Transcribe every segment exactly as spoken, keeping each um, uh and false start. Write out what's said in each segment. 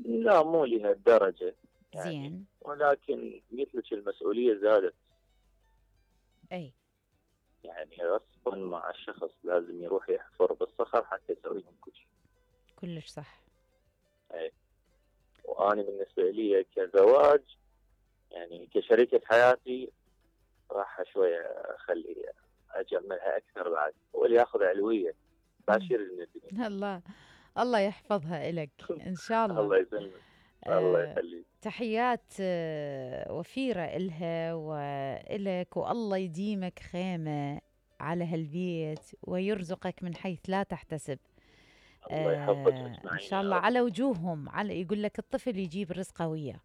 لا مو لهالدرجة يعني، زين. ولكن قلت لك المسؤولية زادت. اي يعني غصبا مع الشخص لازم يروح يحفر بالصخر حتى يسوي لهم كل شيء. كلش صح. اي وأنا بالنسبة لي كزواج يعني كشريكة حياتي راح شوية أخلي أجملها أكثر بعد، واللي ياخذ علوية باشر من الدنيا. الله الله يحفظها إلك إن شاء الله. الله يسلمك. الله آه يخليك. تحيات آه وفيرة إلها وإلك، والله يديمك خيمة على هالبيت ويرزقك من حيث لا تحتسب. الله يحفظك آه أجمعين إن شاء يا الله رب. على وجوههم، على يقول لك الطفل يجيب رزقه وياه.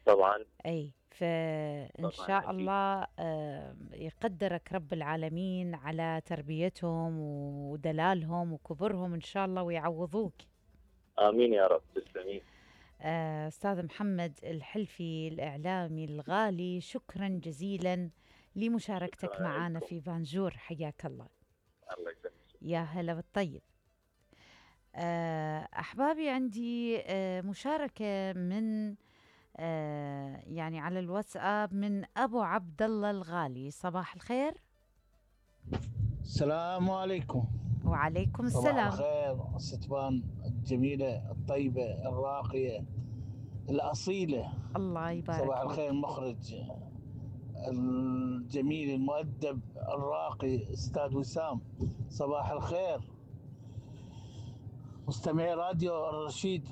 طبعا. أي فإن شاء أكيد. الله آه يقدرك رب العالمين على تربيتهم ودلالهم وكبرهم إن شاء الله ويعوضوك. آمين يا رب. تسلمين. آه، أستاذ محمد الحلفي الإعلامي الغالي، شكرا جزيلا لمشاركتك شكراً معنا لكم. في بانجور. حياك الله. الله يسلمك. يا هلا بالطيب. آه، أحبابي عندي آه، مشاركة من آه، يعني على الواتساب من أبو عبد الله الغالي. صباح الخير. السلام عليكم. وعليكم صباح السلام. الخير الستبان الجميلة الطيبة الراقية الأصيلة. الله يبارك صباح فيك. الخير المخرج الجميل المؤدب الراقي أستاذ وسام. صباح الخير مستمعي راديو الرشيد.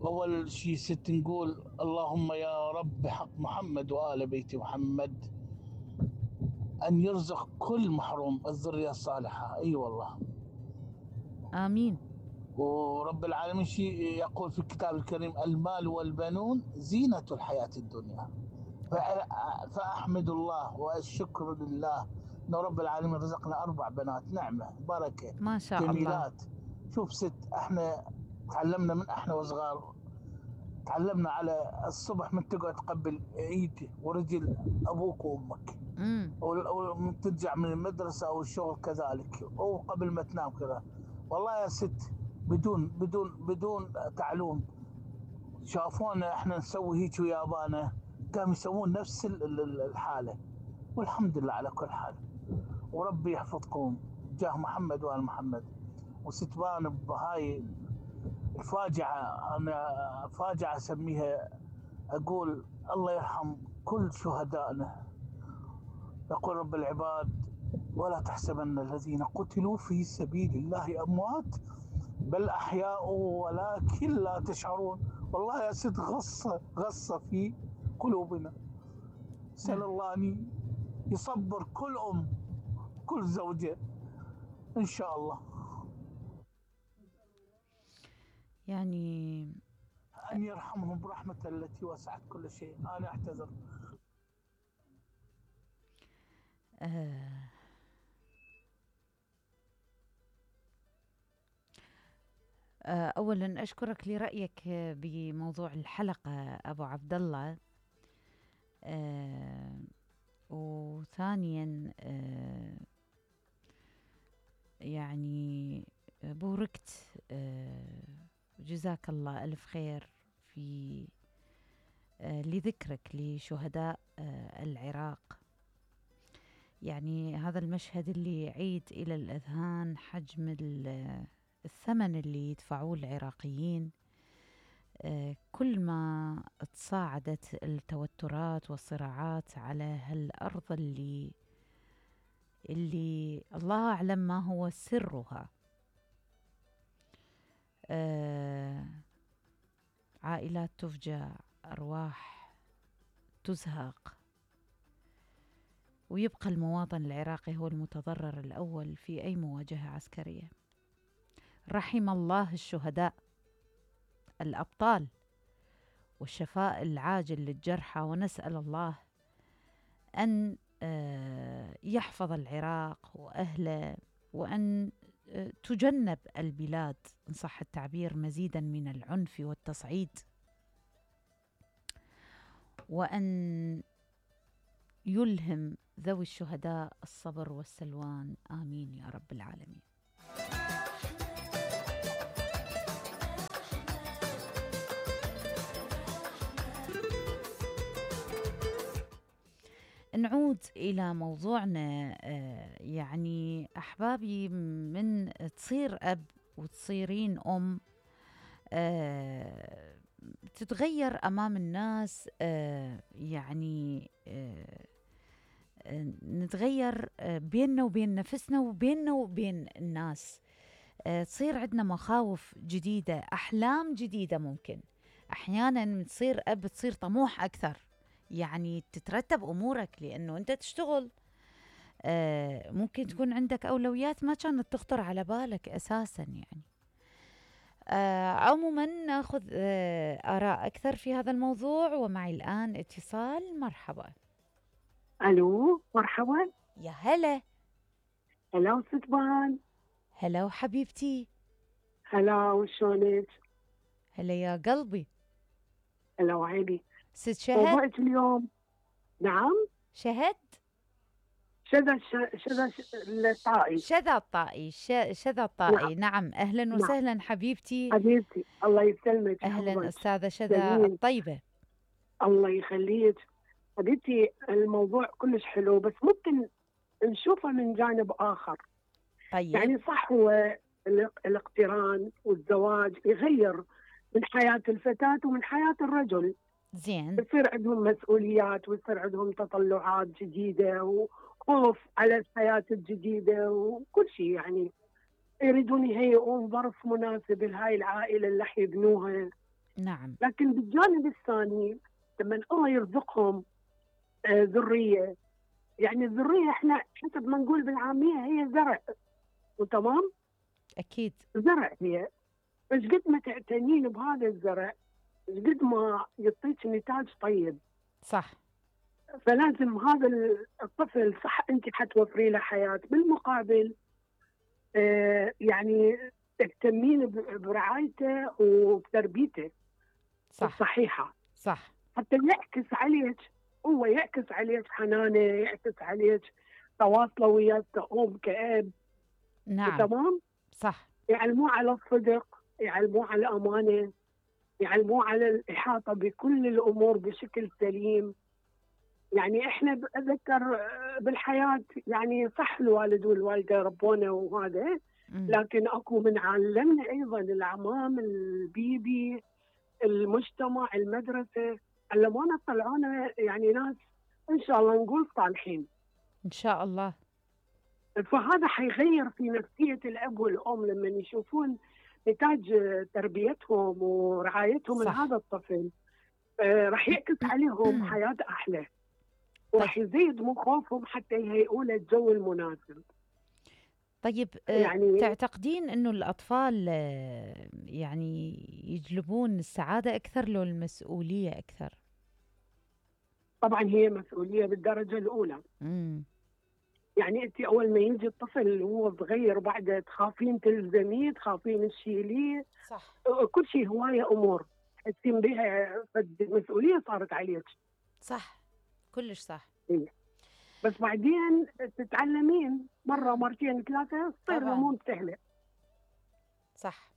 أول شيء ست نقول اللهم يا رب بحق محمد وآل بيت محمد أن يرزق كل محروم الذرية الصالحة. أي أيوة والله آمين. ورب العالمين شيء يقول في الكتاب الكريم المال والبنون زينة الحياة الدنيا. فأحمد الله والشكر لله أن رب العالمين رزقنا أربع بنات نعمة بركة ما شاء جميلات. الله. شوف ست احنا تعلمنا من احنا وصغار، تعلمنا على الصبح من تقعد تقبل ايد ورجل ابوك وامك، ومن ترجع من المدرسة او الشغل كذلك، او قبل ما تنام كذا. والله يا ست بدون بدون بدون تعلم شافونا احنا نسوي هيك ويابانا قاموا يسوون نفس الحالة، والحمد لله على كل حال. وربي يحفظكم جاه محمد وآل محمد. وستبان بهاي الفاجعة، أنا فاجعة أسميها، أقول الله يرحم كل شهدائنا. يقول رب العباد ولا تحسبن الذين قتلوا في سبيل الله أموات بل أحياء ولكن لا تشعرون. والله يا ست غصة غصة في قلوبنا. سأل الله أن يصبر كل أم كل زوجة إن شاء الله، يعني أن يرحمهم برحمة التي وسعت كل شيء. أنا أعتذر. آه آه أولا أشكرك لرأيك بموضوع الحلقة أبو عبد الله. آه وثانيا آه يعني بوركت، آه جزاك الله ألف خير في آه لذكرك لشهداء آه العراق. يعني هذا المشهد اللي يعيد إلى الأذهان حجم الثمن اللي يدفعوه العراقيين آه كل ما تصاعدت التوترات والصراعات على هالأرض اللي اللي الله أعلم ما هو سرها. آه عائلات تفجع، أرواح تزهق، ويبقى المواطن العراقي هو المتضرر الأول في أي مواجهة عسكرية. رحم الله الشهداء الأبطال والشفاء العاجل للجرحى، ونسأل الله أن يحفظ العراق وأهله، وأن تجنب البلاد إن صح التعبير مزيدا من العنف والتصعيد، وأن يلهم ذوي الشهداء الصبر والسلوان. آمين يا رب العالمين. نعود إلى موضوعنا. يعني أحبابي، من تصير أب وتصيرين أم تتغير أمام الناس، يعني نتغير بيننا وبين نفسنا وبيننا وبين الناس. تصير عندنا مخاوف جديدة، أحلام جديدة. ممكن أحيانا تصير أب تصير طموح أكثر، يعني تترتب أمورك لأنه أنت تشتغل. آه ممكن تكون عندك أولويات ما كانت تخطر على بالك أساسا. يعني آه عموما ناخذ آه آراء أكثر في هذا الموضوع، ومعي الآن اتصال. مرحبا. ألو، مرحبا. يا هلا. هلا وستبان. هلا وحبيبتي. هلا وشونك؟ هلا يا قلبي. هلا وعيني. ست شهد موضوعك اليوم. نعم. شهد شذا شذا الطائي. شذا الطائي. شذا الطائي. نعم. نعم أهلا وسهلا. نعم. حبيبتي. حبيبتي الله يسلمك. أهلا أستاذة شذا الطيبة. الله يخليك حبيبتي. الموضوع كلش حلو، بس ممكن نشوفه من جانب آخر. طيب. يعني صح، هو الاقتران والزواج يغير من حياة الفتاة ومن حياة الرجل. زين. بصير عندهم مسؤوليات ويصير عندهم تطلعات جديدة وخوف على الحياة الجديدة وكل شيء. يعني يريدون يهيئون ظرف مناسب لهاي العائلة اللي راح يبنوها. نعم. لكن بالجانب الثاني لما الله يرزقهم آه ذرية، يعني الذرية احنا حسب ما نقول بالعامية هي زرع، وتمام؟ أكيد زرع هي. بس قد ما تعتنين بهذا الزرع قد ما يعطيك نتاج طيب. صح. فلازم هذا الطفل صح انت حتوفري له حياه، بالمقابل آه يعني تهتمين برعايته وبتربيته صح الصحيحه. صح. حتى يعكس عليك، هو يعكس عليك حنانه، يعكس عليك تواصله وياك كأم كأب. نعم. تمام. صح. يعلموه على الصدق، يعلموه على الامانه، يعلموه على الإحاطة بكل الأمور بشكل سليم. يعني إحنا أتذكر بالحياة يعني صح الوالد والوالدة ربونا وهذا، لكن أكو من علمنا أيضا العمام، البيبي، المجتمع، المدرسة، علمونا طلعونا يعني ناس إن شاء الله نقول صالحين إن شاء الله. فهذا حيغير في نفسية الأب والأم لما يشوفون نتاج تربيتهم ورعايتهم لهذا الطفل. آه راح يعكس عليهم حياة أحلى، وراح يزيد من خوفهم حتى يهيئوا له الجو المناسب. طيب يعني تعتقدين أنه الأطفال يعني يجلبون السعادة أكثر لو المسؤولية أكثر؟ طبعا هي مسؤولية بالدرجة الأولى. مم. يعني أنت أول ما يجي الطفل وهو صغير وبعد تخافين تلزميه، تخافين تشيليه. صح. كل شيء هواية أمور تحسين بها، فالمسؤولية صارت عليك. صح كلش صح. إيه. بس بعدين تتعلمين مرة مرتين ثلاثة تصير الأمور سهلة. صح.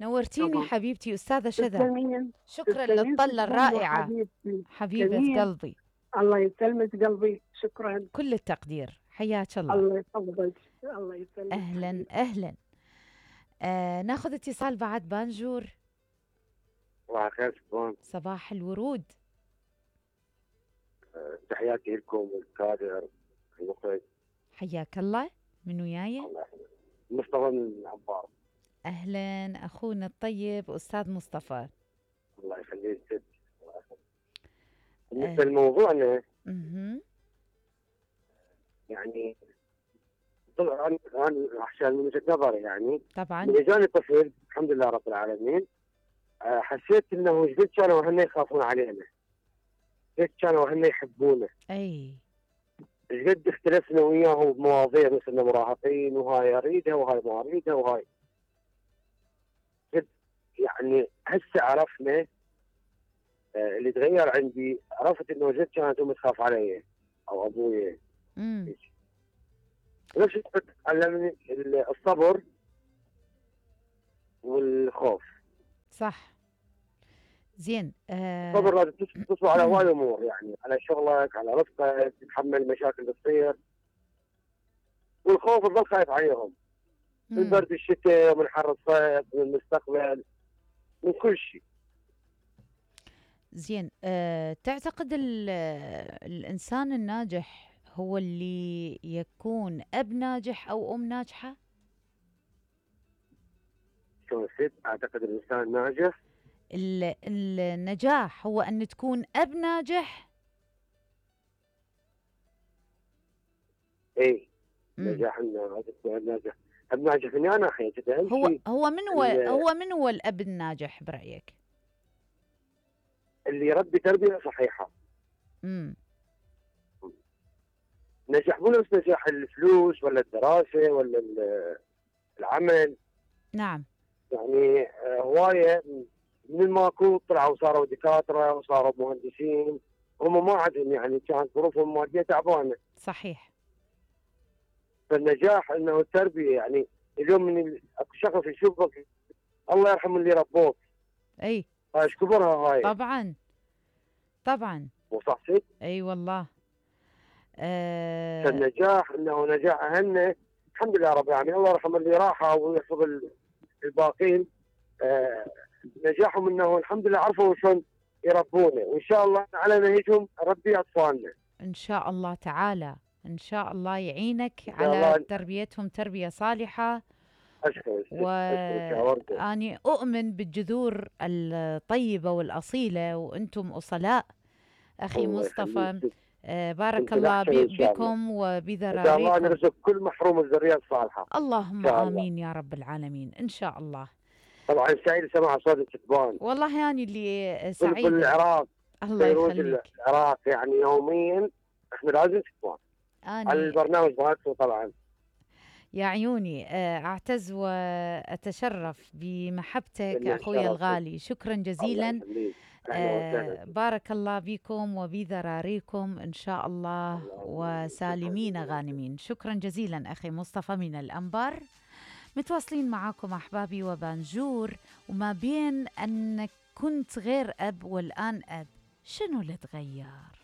نورتيني طبعا. حبيبتي أستاذة شذا. تسلمين. شكرا للطلة الرائعة حبيبتي. حبيبة قلبي. الله يسلمك قلبي. شكرا. كل التقدير. حياك الله. الله يسلمك. الله يسلمك. أهلا حبيبتي. أهلا. آه ناخذ اتصال بعد. بانجور. صباح الخير شكرا. صباح الورود. أه تحياتي لكم والكادر المخرج. حياك الله. من وياي؟ مصطفى من العبار. أهلا أخونا الطيب أستاذ مصطفى. الله يخليك ست. بالنسبة أه. لموضوعنا اها يعني طبعا انا عشان من وجهه نظري يعني طبعا من اجاني طفل الحمد لله رب العالمين، حسيت انه ايش قد كانوا هن يخافون علينا، ايش كانوا هن يحبونا، اي ايش قد اختلفنا وياهم بمواضيع مثل مراهقين وهاي اريدها وهاي ما اريدها وهاي قد يعني هسه عرفنا. آه اللي تغير عندي عرفت انه جد كانت امي تخاف علي او ابوي. امم نفس الشيء علمني الصبر والخوف. صح. زين. آه الصبر لازم تصبر على هواي امور، يعني على شغلك، على رزقك، تتحمل المشاكل اللي تصير، والخوف تظل خايف عليهم من برد الشتاء ومن حر الصيف ومن المستقبل، من كل شيء. زين. أه تعتقد الإنسان الناجح هو اللي يكون أب ناجح أو أم ناجحة؟ شو ست؟ أعتقد الإنسان الناجح النجاح هو أن تكون أب ناجح. إيه نجاح الناجح، أب ناجح من أنا ناحية هو هو من هو هو من هو الأب الناجح برأيك؟ اللي يربي تربية صحيحة. امم نجاح مو نفس نجاح الفلوس ولا الدراسة ولا العمل. نعم. يعني هواية من ماكو طلعوا صاروا دكاترة وصاروا مهندسين، هم ما عندهم يعني كانت ظروفهم المادية تعبانة. صحيح. فالنجاح انه التربية، يعني اليوم من اكو شخص يشوفك الله يرحم اللي ربوك. اي. ايش كبرها هاي. طبعا طبعا. مو صح ست؟ اي والله. أه فالنجاح انه نجاح اهلنا الحمد لله رب العالمين، الله يرحم اللي راحوا ويحفظ الباقين. أه نجاحهم انه الحمد لله عرفوا شلون يربونا، وان شاء الله على نهجهم نربي اطفالنا. ان شاء الله تعالى، ان شاء الله يعينك على تربيتهم تربية صالحة. أشكرك. وأني أؤمن بالجذور الطيبة والأصيلة، وأنتم أصلاء أخي مصطفى. آه بارك الله بكم وبذراريكم. إن شاء الله نرزق كل محروم الذرية الصالحة. اللهم آمين يا رب العالمين إن شاء الله. طبعا سعيد سمع صوت الكتبان. والله يعني اللي سعيد. كل العراق. الله يخليك. العراق يعني يوميا احنا لازم كتبان. أني على البرنامج مالكم طبعا. يا عيوني أعتز وأتشرف بمحبتك أخوي الغالي. شكرا جزيلا. آه بارك الله بكم وبذراريكم إن شاء الله وسالمين غانمين. شكرا جزيلا أخي مصطفى من الأنبار. متواصلين معاكم أحبابي وبانجور. وما بين أنك كنت غير أب والآن أب، شنو اللي تغير؟